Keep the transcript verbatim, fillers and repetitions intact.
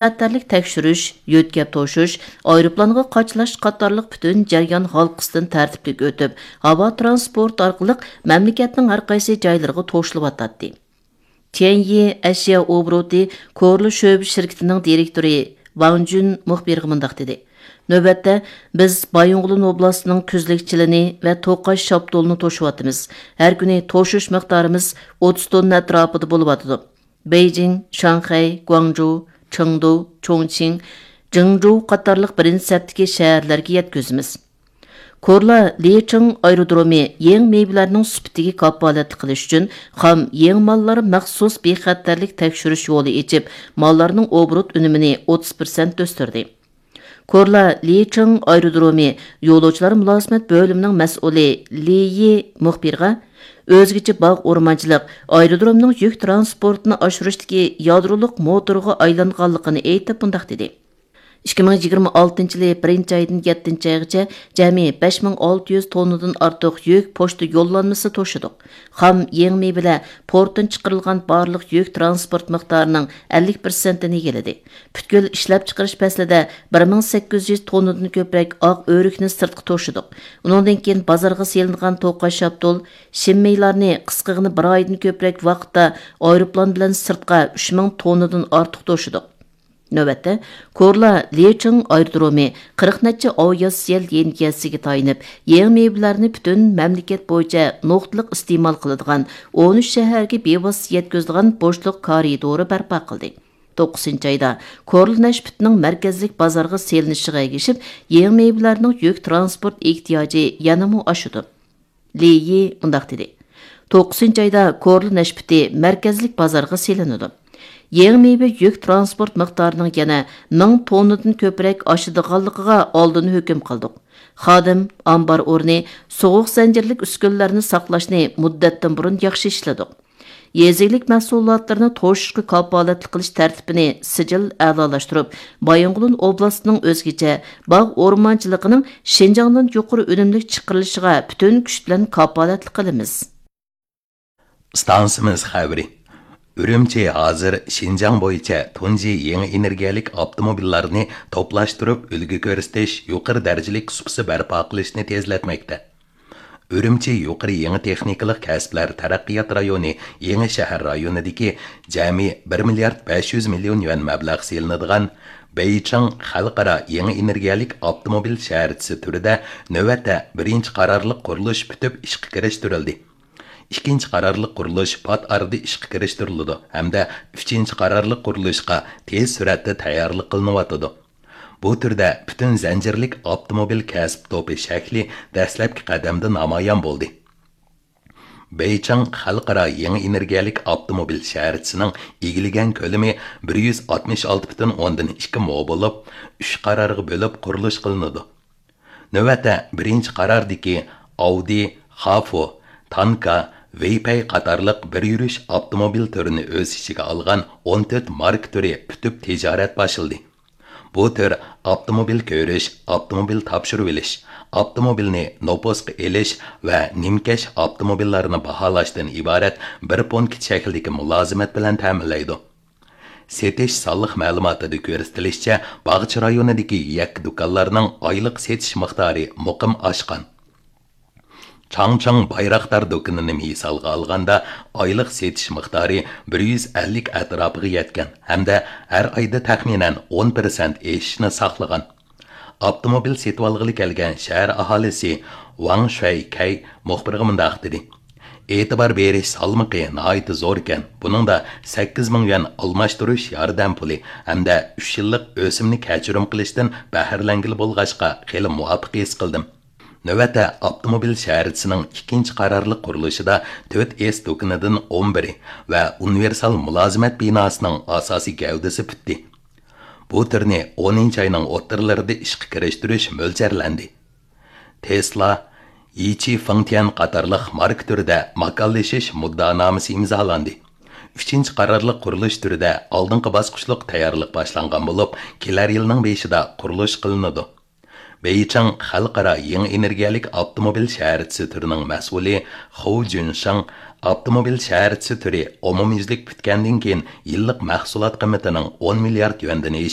خەتەرلىك تەكشۈرۈش، يۆتكەپ توشۇش، ئايروپىلانغا قاچىلاش قاتارلىق پۈتۈن جەريان ھالقىسىدىن تەرتىپلىك ئۆتۈپ، ھاۋا تىرانسپورتى ئارقىلىق مەملىكەتنىڭ ھەر قايسى جايلىرىغا توشۇلۇۋاتاتتى. تيەنيى ئەشيا ئوبوروتى كورلا شۆبە شىركىتىنىڭ دىرېكتورى ۋاڭ جۈن مۇخبىرغا مۇنداق دېدى: نۆۋەتتە، بىز بايىنغولىن ئوبلاستىنىڭ كۈزلۈك چىلىنى ۋە توقاچ شاپتۇلىنى توشۇۋاتىمىز. ھەر كۈنى توشۇش مىقدارىمىز ئوتتۇز توننا ئەتراپىدا بولۇۋاتىدۇ. بېيجىڭ، شاڭخەي، گۇاڭجۇ، چېڭدۇ، چۇڭچىڭ، جېڭجۇ قاتارلىق بىرىنچى سەپتىكى شەھەرلەرگە يەتكۈزىمىز. كورلا لىچىڭ ئايرودرومى يېڭى مېۋىلەرنىڭ سۈپىتىگە كاپالەتلىك قىلىش ئۈچۈن خام يېڭى ماللار مەخسۇس بىخەتەرلىك تەكشۈرۈش يولى ئېچىپ، ماللارنىڭ ئوبوروت ئۈنۈمىنى ئوتتۇز پىرسەنت ئۆستۈردى. كورلا لىچىڭ ئايرودرومى يولۇچىلار مۇلازىمەت بۆلۈمىنىڭ مەسئۇلى لى يى مۇخبىرغا ئۆزگىچە باغ ئورمانچىلىق ئايرودرومنىڭ يۈك تىرانسپورتىنى ئاشۇرۇشتىكى يادرولۇق موتورغا ئايلانغانلىقىنى ئېيتىپ، مۇنداق دېدى: ئىككى مىڭ يىگىرمە ئالتىنچى يىلى بىرىنچى ئايدىن يەتتىنچى ئايغىچە جەمئىي بەش مىڭ ئالتە يۈز توننىدىن ئارتۇق يۈك پوچتا يوللانمىسى توشىدۇق. خام يېڭى مېۋىلەر پورتتىن چىقىرىلغان بارلىق يۈك تىرانسپورت مىقدارىنىڭ ئەللىك پىرسەنتىنى ئىگىلىدى. پۈتكۈل ئىشلەپچىقىرىش پەسلىدە بىر مىڭ سەككىز يۈز توننىدىن كۆپرەك ئاق ئۆرۈكنى سىرتقا توشىدۇق. ئۇنىڭدىن كېيىن بازارغا سېلىنغان توقاچ شاپتۇل، شىنمېيلارنى قىسقىغىنە بىر ئايدىن كۆپرەك ۋاقىتتا ئايروپىلان بىلەن سىرتقا ئۈچ مىڭ توننىدىن ئارتۇق توشىدۇق. نۆۋەتتە، كورلا لىچىڭ ئايرودرومى قىرىق نەچچە ئاۋىئاتسىيە لىنىيەسىگە تايىنىپ، يېڭى مېۋىلەرنى پۈتۈن مەملىكەت بويىچە نۇقتىلىق ئىستېمال قىلىدىغان ئون ئۈچ شەھەرگە بىۋاسىتە يەتكۈزىدىغان بوشلۇق كارىدورى بەرپا قىلدى. توققۇزىنچى ئايدا كورلا نەشپۈتىنىڭ مەركەزلىك بازارغا سېلىنىشىغا ئەگىشىپ، يېڭى مېۋىلەرنىڭ يۈك تىرانسپورت ئېھتىياجى يەنىمۇ ئاشىدۇ. لى يى مۇنداق دېدى: توققۇزىنچى ئايدا كورلا نەشپۈتى مەركەزلىك بازارغا سېلىنىدۇ. يېڭى مېۋە يۈك تىرانسپورت مىقدارىنىڭ يەنە مىڭ توننىدىن كۆپرەك ئاشىدىغانلىقىغا ئالدىن ھۆكۈم قىلدۇق. خادىم، ئامبار ئورنى، سوغۇق زەنجىرلىك ئۈسكۈنىلەرنى ساقلاشنى مۇددەتتىن بۇرۇن ياخشى ئىشلىدۇق. يېزا ئىگىلىك مەھسۇلاتلىرىنى توشۇشقا كاپالەتلىك قىلىش تەرتىپىنى سىجىل ئەلالاشتۇرۇپ، بايىنغولىن ئوبلاستىنىڭ ئۆزگىچە باغ ئورمانچىلىقىنىڭ شىنجاڭدىن يۇقىرى ئۈنۈملۈك چىقىرىلىشىغا پۈتۈن كۈچ بىلەن كاپالەتلىك قىلىمىز. ئىستانسىمىز خەۋىرى. ئۈرۈمچى ھازىر شىنجاڭ بويىچە تۇنجى يېڭى ئېنېرگىيەلىك ئاپتوموبىللارنى توپلاشتۇرۇپ ئۈلگە كۆرسىتىش، يۇقىرى دەرىجىلىك سۇپىسى بەرپا قىلىشنى تېزلەتمەكتە. ئۈرۈمچى يۇقىرى يېڭى تېخنىكىلىق كەسىپلەر تەرەققىيات رايونى يېڭى شەھەر رايونىدىكى جەمئىي بىر مىليارد بەش يۈز مىليون يۈەن مەبلەغ سېلىنىدىغان بېيچىڭ خەلقئارا يېڭى ئېنېرگىيەلىك ئاپتوموبىل شەھەرچىسى تۈرىدە نۆۋەتتە بىرىنچى قارارلىق قۇرۇلۇش پۈتۈپ ئىشقا كىرىشتۈرۈلدى. ئىككىنچى قارارلىق قۇرۇلۇش پات ئارىدا ئىشقا كىرىشتۈرۈلىدۇ ھەمدە ئۈچىنچى قارارلىق قۇرۇلۇشقا تېز سۈرئەتتە تەييارلىق قىلىنىۋاتىدۇ. بۇ تۈردە پۈتۈن زەنجىرلىك ئاپتوموبىل كەسىپ توپى شەكلى دەسلەپكى قەدەمدە نامايان بولدى. بېيچىڭ خەلقئارا يېڭى ئېنېرگىيەلىك ئاپتوموبىل شەھەرچىسىنىڭ ئىگىلىگەن كۆلىمى بىر يۈز ئاتمىش ئالتە پۈتۈن ئوندىن ئىككى مو بولۇپ، ئۈچ قارارغا بۆلۈپ قۇرۇلۇش قىلىنىدۇ. نۆۋەتتە بىرىنچى قاراردىكى ئاۋدى، خافو، تانكا، ۋېيپەي قاتارلىق بىر يۈرۈش ئاپتوموبىل تۈرىنى ئۆز ئىچىگە ئالغان ئون تۆت ماركا تۈرى پۈتۈپ تىجارەت باشلىدى. بۇ تۈر ئاپتوموبىل كۆرۈش، ئاپتوموبىل تاپشۇرۇۋېلىش، ئاپتوموبىلنى نوپۇسقا ئېلىش ۋە نىمكەش ئاپتوموبىللارنى باھالاشتىن ئىبارەت بىر پونكىت شەكلىدىكى مۇلازىمەت بىلەن تەمىنلەيدۇ. سېتىش سانلىق مەلۇماتىدا كۆرسىتىلىشىچە، باغچە رايونىدىكى يەككە دۇكانلارنىڭ ئايلىق سېتىش مىقدارى مۇقىم ئاشقان. چاڭچىڭ بايراقدار دۇكىنىنى مىسالغا ئالغاندا، ئايلىق سېتىش مىقدارى بىر يۈز ئەللىك ئەتراپىغا يەتكەن ھەمدە ھەر ئايدا تەخمىنەن ئون پىرسەنت ئېشىشنى ساقلىغان. ئاپتوموبىل سېتىۋالغىلى كەلگەن شەھەر ئاھالىسى ۋاڭ شۈەيكەي مۇخبىرغا مۇنداق دېدى: ئېتىبار بېرىش سالمىقى ناھايىتى زوركەن، بۇنىڭدا سەككىز مىڭ يۈەن ئالماشتۇرۇش ياردەم پۇلى ھەمدە ئۈچ يىللىق ئۆسۈمنى كەچۈرۈم قىلىشتىن بەھرىلەنگىلى بولغاچقا خېلى مۇۋاپىق ھېس قىلدىم. نۆۋەتتە ئاپتوموبىل شەھەرچىسىنىڭ ئىككىنچى قارارلىق قۇرۇلۇشىدا تۆت ئېس دۇكىنىدىن ئون بىرى ۋە ئۇنىۋېرسال مۇلازىمەت بىناسىنىڭ ئاساسىي گەۋدىسى پۈتتى. بۇ تۈرنى ئونىنچى ئاينىڭ ئوتتۇرىلىرىدا ئىشقا كىرىشتۈرۈش مۆلچەرلەندى. تېسلا، يىچى فېڭتيەن قاتارلىق ماركا تۈرىدە ماكانلىشىش مۇددىئانامىسى ئىمزالاندى. ئۈچىنچى قارارلىق قۇرۇلۇش تۈرىدە ئالدىنقى باسقۇچلۇق تەييارلىق باشلانغان بولۇپ، كېلەر يىلنىڭ بېشىدا قۇرۇلۇش قىلىنىدۇ. بېيچىڭ خەلقئارا يېڭى ئېنېرگىيەلىك ئاپتوموبىل شەھەرچىسى تۈرىنىڭ مەسئۇلى خۇ جۈنشېڭ ئاپتوموبىل شەھەرچىسى تۈرى ئومۇميۈزلۈك پۈتكەندىن كېيىن يىللىق مەھسۇلات قىممىتىنىڭ ئون مىليارد يۈەندىن ئېشىپ،